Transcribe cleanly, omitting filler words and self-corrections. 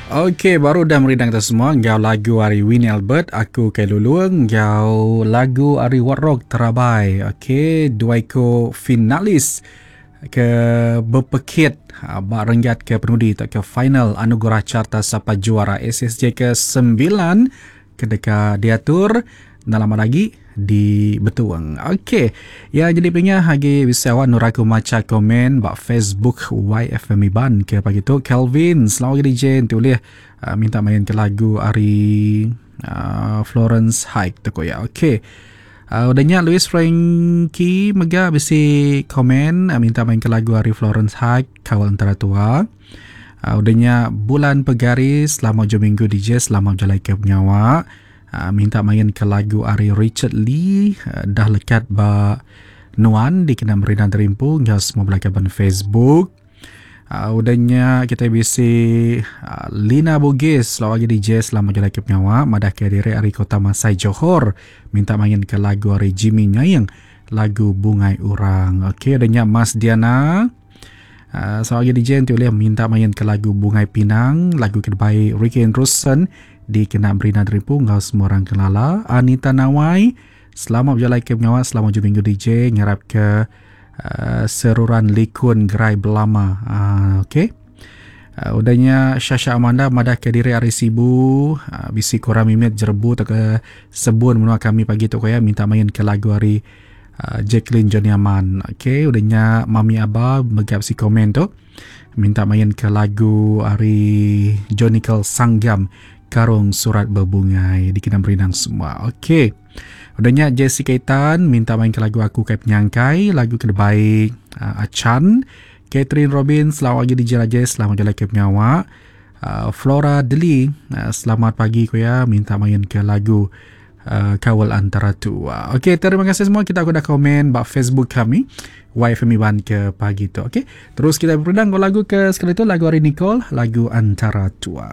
Ok baru udah merindang kita semua enggau lagu ari Winnie Albert aku kai lulung enggau lagu ari What Rock Terabai. Ok dua iko finalis ke bepekit ah, ba renggat ke penudi tauka final Anugerah Carta Sapa Juara SSJ ke 9 ke deka diatur enda lama lagi di Betuang. Okey. Ya jadi pingah agi bisi awak nur aku macha komen ba Facebook YFM Iban ke pagi tu Kelvin selamat pagi DJ enti ulih uh, minta main ke lagu ari uh, Florence Hike tu ko ya. Okey. Uh, udah nya Louis Frankie mega bisi komen uh, minta main ke lagu ari Florence Hike kawal antara tua. Uh, udah nya bulan pegari selama ujung minggu DJ selama berjalai ke pengawa. Uh, minta main ke lagu ari Richard Lee uh, dah lekat ba nuan dikena merindang terimpu enggau semua bala kaban Facebook. Uh, udah nya kita bisi uh, Lina Bugis selalu agi DJ selama jalai ke pengawa madah ke diri ari Kota Masai Johor minta main ke lagu ari Jimmy Nyaing lagu Bungai Urang. Okey udah nya Mas Diana Uh, selamat pagi DJ enti ulih minta main ke lagu Bungai Pinang, lagu ke dibai Ricky Andrewson dikena Brina Deripu enggau semua orang kelala. Anita Nawai, selamat berjalai ke pengawa selamat ujung minggu DJ ngarap ke uh, seruran likun gerai belama. Uh, okay. Uh, udah nya Shasha Amanda madah ke diri ari Sibu uh, bisi kurang mimit jerebu atau ke sebun menua kami pagi tu ko ya minta main ke lagu ari Ah, Jacqueline Johnny Aman. Okey, udah nya Mami Aba mega bisi komen tu. Minta main ke lagu ari Jonical Sanggam Karung Surat Berbungai dikena merindang semua. Okey. Udah nya Jessica Itan minta main ke lagu Aku Kai Penyangkai, lagu ke dibai uh, Achan. Catherine Robin selamat pagi DJ Rajesh, selamat jalai ke pengawa. Uh, Flora Deli, uh, selamat pagi ku ya minta main ke lagu uh, kawal antara tua. Okey, terima kasih semua kita udah komen ba Facebook kami YFM Iban ke pagi tu. Okey, terus kita berundang lagu ke sekali tu lagu hari Nicole, lagu Antara Tua.